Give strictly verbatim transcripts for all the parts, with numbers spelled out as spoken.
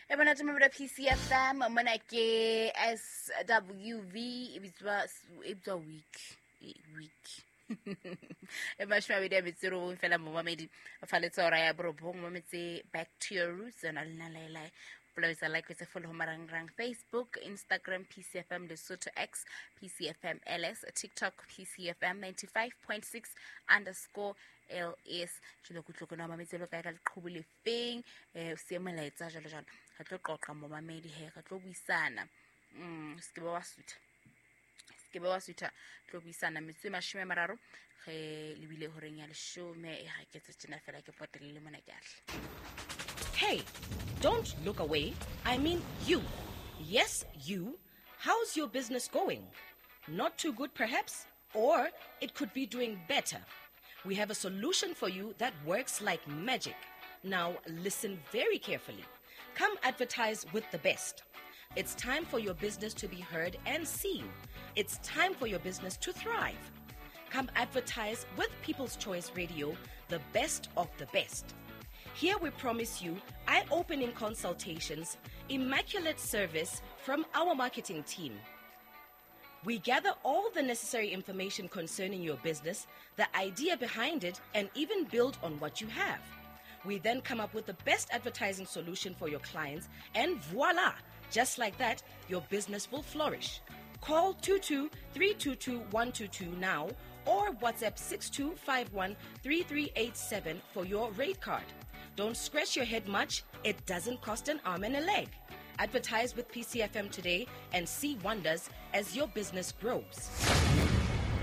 E monate mo P C F M, mona ke S W V, e bitswa e bitswa week, week. E mashome a mabedi a metso e robong fela momamedi fa letsa hora ya borobong mometse back to your roots yona le nna laelae. Polabetsa like tse follow marangrang Facebook, Instagram P C F M Lesotho, X P C F M L S, TikTok P C F M ninety-five point six underscore L S. Jalo kutlwe kona mametse lo kae ka leqhubu le feng, eh o siye molaetsa jalo jalo. Re tlo qoqa momamedi he, re tlo buisana. Mm, se ke ba wa sutha. Se ke ba wa sutha, tlo buisana metsotso e mashome a mararo re lebile horeng ya leshome. E ha ke tse tjena fela ke potele le mona ke ahle. Hey, don't look away. I mean you. Yes, you. How's your business going? Not too good, perhaps? Or it could be doing better. We have a solution for you that works like magic. Now, listen very carefully. Come advertise with the best. It's time for your business to be heard and seen. It's time for your business to thrive. Come advertise with People's Choice Radio, the best of the best. Here we promise you eye-opening consultations, immaculate service from our marketing team. We gather all the necessary information concerning your business, the idea behind it, and even build on what you have. We then come up with the best advertising solution for your clients, and voila! Just like that, your business will flourish. Call two two three two two one two two now or WhatsApp six two five one three three eight seven for your rate card. Don't scratch your head much. It doesn't cost an arm and a leg. Advertise with P C F M today and see wonders as your business grows.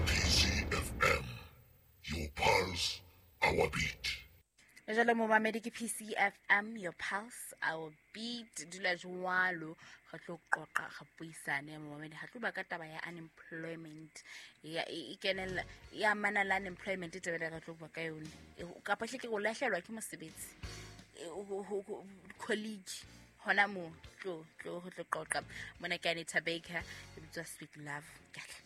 P C F M, your pulse, our beat. Jalo momamedi ke P C F M, your pulse, our beat. Dula jwalo, re tlo qoqa, re buisane momamedi. Ha tlo ba ka taba ya unemployment. Ya, e, e kenella, ya amana le unemployment, e taba e re tlo bua ka yone. E, kapa hle ke go lahlehelwa ke mosebetsi. E, ho, ho, ho, colleague. Hona moo, tlo, tlo, re tlo qoqa. Mona ke Anita Baker, e bitswa Sweet Love. Ke a tla.